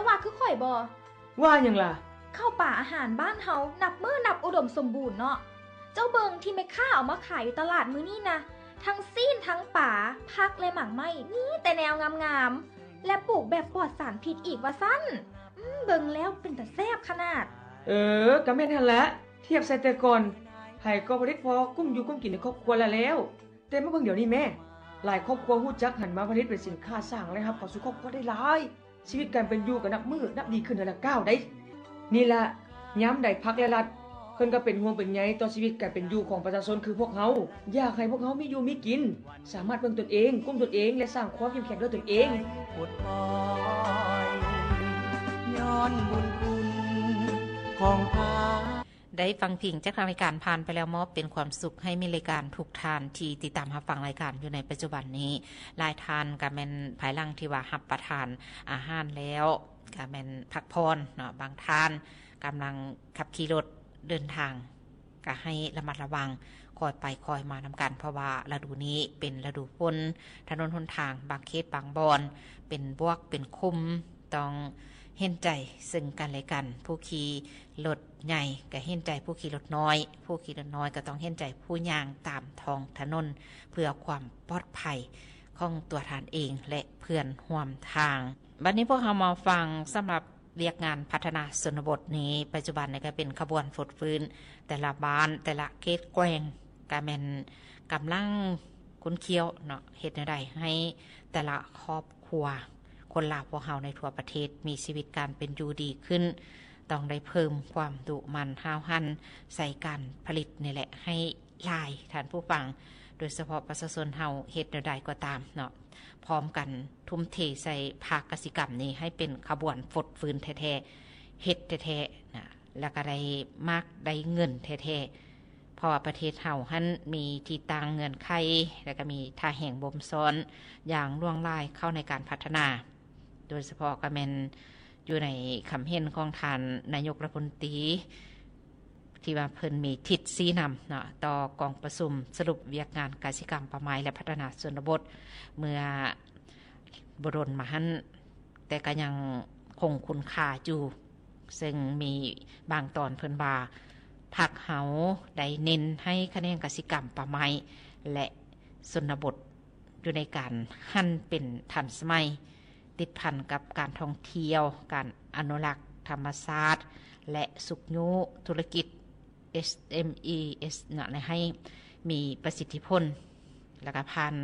ວ່າຄືຂ້ອຍບໍ່? ວ່າຫຍັງລະ? ເຂົ້າປາອາຫານບ້ານເຮົານັບມື້ນັບອຸດົມສົມບູນເນາະ. ເຈົ້າເບິ່ງທີ່ແມ່ຄ້າເອົາມາຂາຍຢູ່ຕະຫຼາດມື້ນີ້ນະ, ທັງຊີ້ນ ທັງປາ, ຜັກ ແລະ ໝາກໄມ້ ມີແຕ່ແນວງາມໆ ແລະ ປູກແບບປອດສານພິດອີກວ່າຊັ້ນ. ອືມ ເບິ່ງແລ້ວເປັນຕາແຊບຂະໜາດ. ເອີ ກະແມ່ນຫັ້ນລະ. ທຽບໃສ່ແຕ່ກ່ອນ ໃຜກໍຜະລິດພໍກຸ້ມຢູ່ກຸ້ມກິນໃນຄອບຄົວລະແລ້ວ. ແຕ່ມາເບິ່ງດຽວນີ້ແມ້, ຫຼາຍຄອບຄົວຮູ້ຈັກຫັນມາຜະລິດເປັນສິນຄ້າ ສ້າງລາຍຮັບເຂົ້າສູ່ຄອບຄົວໄດ້ຫຼາຍ. ຊີວິດການເປັນຢູ່ກໍນັບມື້ນັບດີຂຶ້ນເທື່ອລະກ້າວໃດ໋. ນີ້ລະ ຍາມໃດພັກ ແລະ ລັດ ເພິ່ນກໍເປັນຫ່ວງເປັນໃຍຕໍ່ຊີວິດການເປັນຢູ່ຂອງປະຊາຊົນຄືພວກເຮົາ, ຢາກໃຫ້ພວກເຮົາມີຢູ່ມີກິນ, ສາມາດເບິ່ງຕົນເອງ, ກຸ້ມຕົນເອງ ແລະ ສ້າງຄວາມເຂັ້ມແຂງດ້ວຍຕົນເອງ. ໄດ້ຟັງພິງຈາກທາງລາຍການຜ່ານໄປແລ້ວ ມອບເປັນຄວາມສຸກໃຫ້ມີລາຍການທຸກທ່ານທີ່ຕິດຕາມຮັບຟັງລາຍການຢູ່ໃນປັດຈຸບັນນີ້. ຫຼາຍທ່ານກະແມ່ນພາຍຫຼັງທີ່ວ່າຮັບປະທານອາຫານແລ້ວ ກະແມ່ນພັກຜ່ອນເນາະ, ບາງທ່ານກຳລັງຂັບຂີ່ລົດເດີນທາງ ກະໃຫ້ລະມັດລະວັງ ຄ່ອຍໄປຄ່ອຍມານຳກັນ, ເພາະວ່າລະດູນີ້ເປັນລະດູຝົນ, ຖະໜົນຫົນທາງບາງເຂດບາງບ່ອນເປັນບວກເປັນຂຸມ, ຕ້ອງເຫັນໃຈເຊິ່ງກັນແລະກັນ. ຜູ້ຂີ່ລົດໃຫຍ່ກະເຫັນໃຈຜູ້ຂີ່ລົດນ້ອຍ, ຜູ້ຂີ່ລົດນ້ອຍກໍຕ້ອງເຫັນໃຈຜູ້ຍ່າງຕາມທ້ອງຖະໜົນ ເພື່ອຄວາມປອດໄພຂອງຕົວທ່ານເອງ ແລະ ເພື່ອນຮ່ວມທາງ. ບັດນີ້ພວກເຮົາມາຟັງສຳລັບວຽກງານພັດທະນາຊົນນະບົດນີ້, ປັດຈຸບັນນີ້ກໍເປັນຂະບວນຟົດຟື້ນ, ແຕ່ລະບ້ານ ແຕ່ລະເຂດແຂວງ ກະແມ່ນກຳລັງຂຸ້ນຂ້ຽວເນາະ, ເຮັດແນວໃດໃຫ້ແຕ່ລະຄອບຄົວ ຄົນລາວພວກເຮົາໃນທົ່ວປະເທດມີຊີວິດການເປັນຢູ່ດີຂຶ້ນ, ຕ້ອງໄດ້ເພີ່ມຄວາມດຸໝັ່ນຫ້າວຫັນໃສ່ການຜະລິດນີ້ແຫຼະໃຫ້ຫຼາຍ, ທ່ານຜູ້ຟັງ, ໂດຍສະເພາະປະຊາຊົນເຮົາເຮັດແນວໃດກໍຕາມເນາະ, ພ້ອມກັນທຸ່ມເທໃສ່ພາກກະສິກຳນີ້ໃຫ້ເປັນຂະບວນຟົດຟື້ນແທ້ໆ, ເຮັດແທ້ໆນະ ແລ້ວກໍໄດ້ໝາກໄດ້ເງິນແທ້ໆ, ເພາະວ່າປະເທດເຮົາຫັ້ນມີທີ່ຕັ້ງເງື່ອນໄຂ ແລ້ວກໍມີທ່າແຮງບົ່ມຊ້ອນຢ່າງຫຼວງຫຼາຍເຂົ້າໃນການພັດທະນາ, ໂດຍສະເພາະກໍແມ່ນຢູ່ໃນຄຳເຫັນຂອງທ່ານນາຍົກລັດຖະມົນຕີ ທີ່ວ່າເພິ່ນມີທິດຊີ້ນຳເນາະ ຕໍ່ກອງປະຊຸມສະຫຼຸບວຽກງານກະສິກຳ, ປ່າໄມ້ ແລະ ພັດທະນາຊົນນະບົດ ເມື່ອບໍ່ດົນມາຫັ້ນ, ແຕ່ກໍຍັງຄົງຄຸນຄ່າຢູ່, ເຊິ່ງມີບາງຕອນເພິ່ນວ່າ ພັກເຮົາໄດ້ເນັ້ນໃຫ້ຂະແໜງກະສິກຳ, ປ່າໄມ້ ແລະ ຊົນນະບົດ ຢູ່ໃນການຫັນເປັນທັນສະໄໝ, ຕິດພັນກັບການທ່ອງທ່ຽວ, ການອະນຸລັກທຳມະຊາດ ແລະ ຊຸກຍູ້ທຸລະກິດ ເອັສເອັມອີເອັສ ເນາະ ໃຫ້ມີປະສິດທິຜົນ ແລ້ວກະຜ່ານ